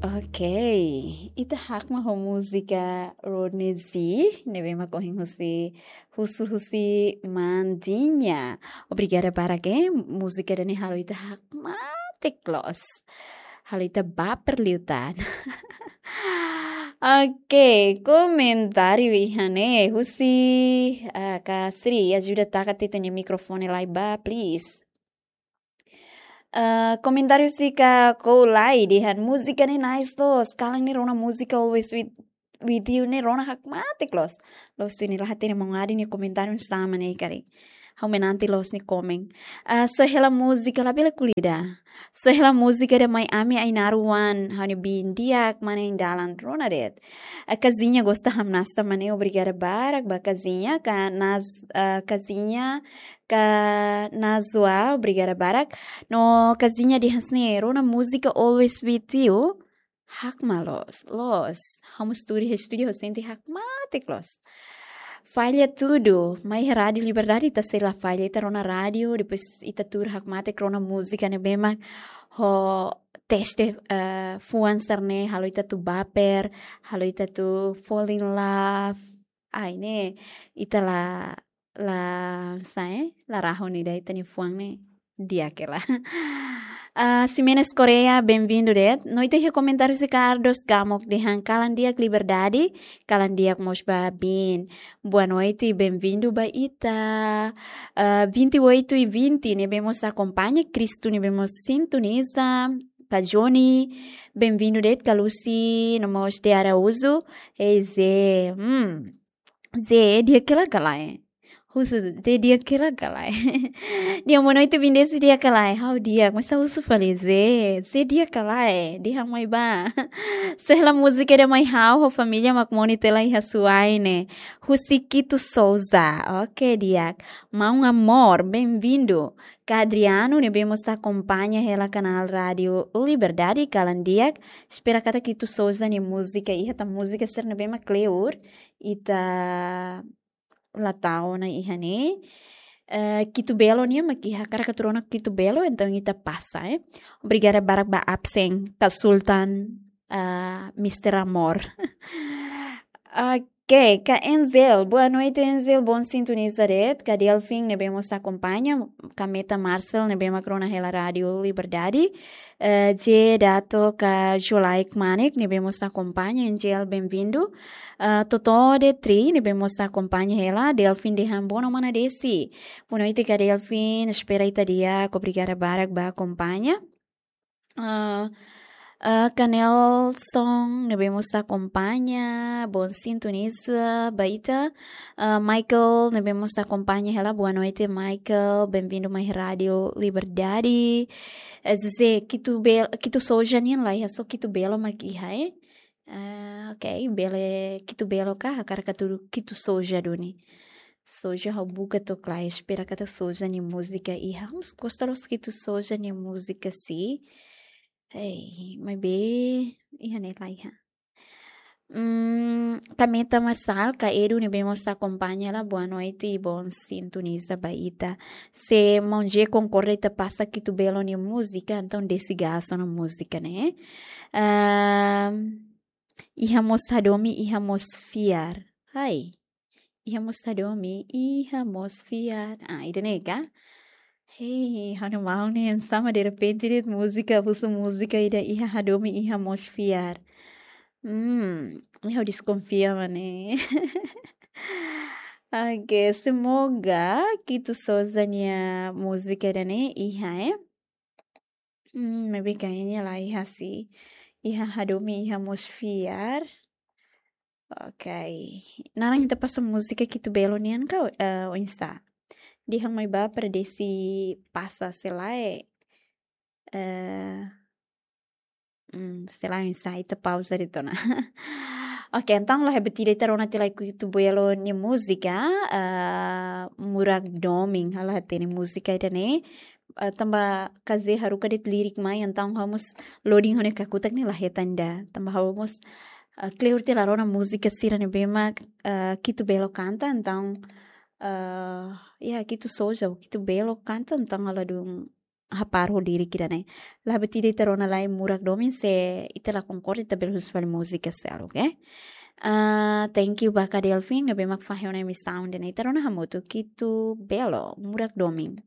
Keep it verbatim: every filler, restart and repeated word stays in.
Ok, ita hakmatek ho múzika Rodney Z, ne'ebé mak ohin husi, husu husi Mandinha. Obrigada barak, eh, múzika ida-ne'e halo ita hakmatek loos. Halo ita baper liután. Ok, komentáriu iha ne'e, husi, ah, Kak Sri, ajuda taka tiha ita-nia mikrofone lai ba, please. Ah, komentáriu husi Kak Koulai dehan múzika ne'e nice loos, kalan ne'e rona múzika Always With, With You ne'e rona hakmatek loos. Loos, ita-nia la hatene maun Adi nia komentáriu sama ne'e karik. Ha'u menanti loos nia komen. Ah, só hela múzika labele ko'alia ida. Só hela múzika ida mai Ami Ainaro One, ha'u-nia biin di'ak, mane iha dalan rona de'it. Ah, Kazinha gosta hamnasa mane, obrigada barak ba Kazinha, Kak Naz-, ah, Kazinha, Kak Nazwa, obrigada barak. No Kazinha dehan hanesan ne'e, rona múzika Always With You, hakmatek loos, loos. Ha'u mós tuur iha estúdiu, ha'u sente hakmatek loos. Falla tudu, mai iha Rádiu Liberdade ita sei la falla, ita rona rádiu, depois ita tuur hakmatek rona múzika ne'ebé mak ho teste, eh, fuan sira-ne'e, halo ita atu baper, halo ita atu fall in love. Ai, ne'e, ita la, la, sae, la rahun ida ita-nia fuan ne'e di'ak hela. Ah, Ximenes Correia, bem-vindo de'it. No ita iha komentáriu husi Carlos Gamok dehan kalan di'ak Liberdade, kalan di'ak mós ba biin. Boa noite, bem-vindo ba ita. Ah, vinte e oito e vinte, ne'ebé mós akompaña, Cristo ne'ebé mós sintoniza, Kak Johnny, bem-vindo de'it, Kak Lucy, no mós de Araújo, e Zé, hmm, Zé, di'ak hela ka lae? Husu, Zé di'ak hela ka lae? Dehan boa noite, bem-vindo, di'ak ka lae? Ha'u di'ak, mas husu fali Zé, Zé di'ak ka lae? Dehan mai ba. Só hela múzika ida mai ha'u, ho família mak mout hela iha Suai ne'e. Husi Quito Souza. Ok, di'ak. Maun Amor, bem-vindo. Kak Adriano, ne'ebé mós akompaña hela kanál Rádiu Liberdade, kalan di'ak. Espera katak Quito Souza nia múzika iha, tanba múzika sira ne'ebé mak kleur, ita la tau ona iha ne'e. Eh, Quito Belo nian mak iha, hakarak atu rona Quito Belo, entaun ita pasa, eh. Obrigada barak ba absen, Kak Sultan, ah, Mister Amor. Ok, Kak Enzel, boa noite, Enzel, bom sintoniza de'it. Kak Delfin, ne'ebé mós akompaña, Kak Meta Marcel, ne'ebé mak rona hela Rádiu Liberdade. Eh, J Dato, Kak Jolaik Manek, ne'ebé mós akompaña, Angel, bem-vindo. Eh, Totó de Tri, ne'ebé mós akompaña hela, Delfin dehan boa noite, mana Desi. Boa noite, Kak Delfin, espera ita di'ak, obrigada barak ba akompaña. Eh, eh, Kak Nelson, ne'ebé mós akompaña, bom sintoniza ba ita. Ah, Michael, ne'ebé mós akompaña hela, boa noite, Michael. Bem-vindo mai Rádiu Liberdade. Eh, Zé, Quito Bel-, Quito Souza nian la iha, só Quito Belo mak iha, eh? Ah, ok, bele Quito Belo ka, hakarak atu Quito Souza duni. Souza ha'u buka to'o la iha, espera katak Souza nia múzika iha. Ha'u mós gosta loos Quito Souza nia múzika sih. Ei, maibé iha ne'e la iha. Hmm, Kak Meta Marçal, Kak Edu ne'ebé mós akompaña hela, boa noite, bom sintoniza ba ita. Se maun Zé konkorda ita pasa Quito Belo nia múzika, entaun Desi Gasso nia múzika ne'e. Ahm, iha mós hadomi, iha mós fiar. Ai. Iha mós hadomi, iha mós fiar. Ah, ida-ne'e ka? Hei, ha'u-nia maun ne'e sama derrepente de'it múzika, husu múzika ida iha hadomi, iha mós fiar. Hmm, ha'u deskonfia mane. Ok, semoga Quito Souza nia múzika ida-ne'e iha, eh? Hmm, maibé kayaknya la iha sih. Iha hadomi, iha mós fiar. Ok. Naran ita pasa múzika Quito Belo nian ka, eh, oinsá? Dehan mai ba para Desi pasa se lae. Eh, hmm, se lae oinsá, ita pauza de'it ona. Ok, entaun la hebat ida ita rona tiha lai Quito Belo nia múzika, eh, Murak Domin, ha'u la hatene múzika ida-ne'e. Eh, tanba Kak Zé haruka de'it lirik mai, entaun ha'u mós loading ho nia kakutak ne'e la hetan ida. Tanba ha'u mós, eh, kleur tiha la rona múzika sira ne'ebé mak, eh, Quito Belo kanta, entaun, eh, ya, Quito Souza, Quito Belo kanta, entaun ha'u ladún hapar ho lirik ida-ne'e. La buat ida ita rona lai murak domin, se ita la konkorda ita bele husu fali múzika seluk, oke? Ah, thank you ba Kak Delfin, ne'ebé mak fahe ona emisaun ida-ne'e. Ita rona hamutuk, Kitu Belo, Murak Domin.